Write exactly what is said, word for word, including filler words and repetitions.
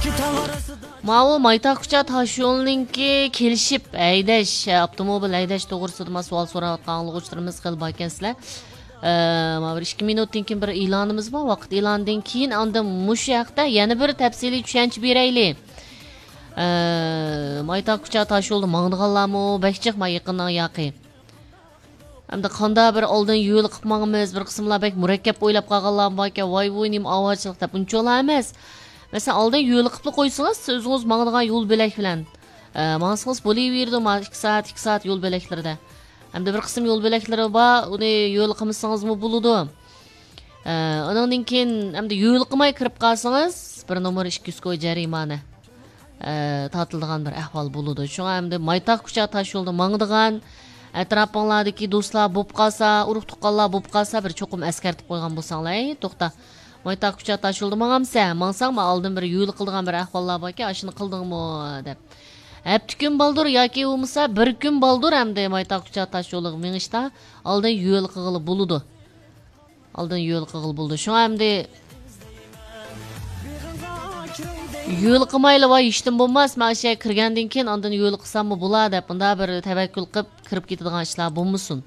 ماۋۇ مايتاغ كۇچا تاشيولنىڭكى كېلىشىپ ھەيدەش، ئاپتوموبىل ھەيدەش توغرىسىدا ما سوئال سوراۋاتقان ئاڭلىغۇچىلىرىمىز خېلى باركەنسىلەر. ئە، مانا بىر ئىككى مىنۇتتىن كېيىن بىر ئېلانىمىز بار. ۋاقىت ئېلانىدىن كېيىن ئاندىن مۇشۇ ھەقتە يەنە بىر تەپسىلىي چۈشەنچە بېرەيلى. ئە، مايتاغ كۇچا تاشيولدا ماڭىدىغانلارمۇ بەك جىق ما يېقىننىڭ ياقى. ئەمدى قاندا بىر ئالدىن يۆلىقىپ ماڭىمىز، بىر قىسىملار بەك مۇرەككەپ ئويلاپ قالغانلارمۇ باركەن، ۋاي ۋۇي نېمە ئاۋارىچىلىق دەپ ئۇنچىۋالا ئەمەس. مەسىلەن، ئالدىن يۆلىقىپلا قويسىڭىز، سىز ئۆزىڭىز ماڭىدىغان يول بۆلەك بىلەن، ئە، ماڭسىڭىز بولۇۋېرىدۇ، ما ئىككى سائەت، ئىككى سائەت يول بۆلەكلىرىدە. ئەمدى بىر قىسىم يول بۆلەكلىرى بار، ئۇنى يۆلىقىمىسىڭىزمۇ بولىدۇ. ئە، ئۇنىڭدىن كېيىن ئەمدى يۆلىقىماي كىرىپ قالسىڭىز، بىر نومۇر ئىككى يۈز كوي جەرىمانە، ئە، تارتىلىدىغان بىر ئەھۋال بولىدۇ. شۇڭا ئەمدى مايتاغ كۇچا تاشيولدا ماڭىدىغان ئەتراپىڭلاردىكى دوستلار بولۇپ قالسا، ئۇرۇق تۇغقانلار بولۇپ قالسا، بىر چوقۇم ئەسكەرتىپ قويغان بولساڭلار، ئەي، توختا، مايتاغ كۇچا تاشيولدا ماڭامسەن؟ ماڭساڭ، ما ئالدىن بىر يۆلىقىدىغان بىر ئەھۋاللار باركەن، ئاشۇنى قىلدىڭمۇ؟ دەپ. ھەپتە كۈن بالدۇر ياكى بولمىسا بىر كۈن بالدۇر ئەمدى مايتاغ كۇچا تاشيولىغا مېڭىشتا ئالدىن يۆلىقىغىلى بولىدۇ. ئالدىن يۆلىقىغىلى بولىدۇ. شۇڭا ئەمدى يۆلىقىمايلا ۋاي ھېچنېمە بولماس، مەن ئاشۇ يەرگە كىرگەندىن كېيىن ئاندىن يۆلىقىساممۇ بولا دەپ، مۇنداق بىر تەۋەككۈل قىلىپ كىرىپ كېتىدىغان ئىشلار بولمىسۇن.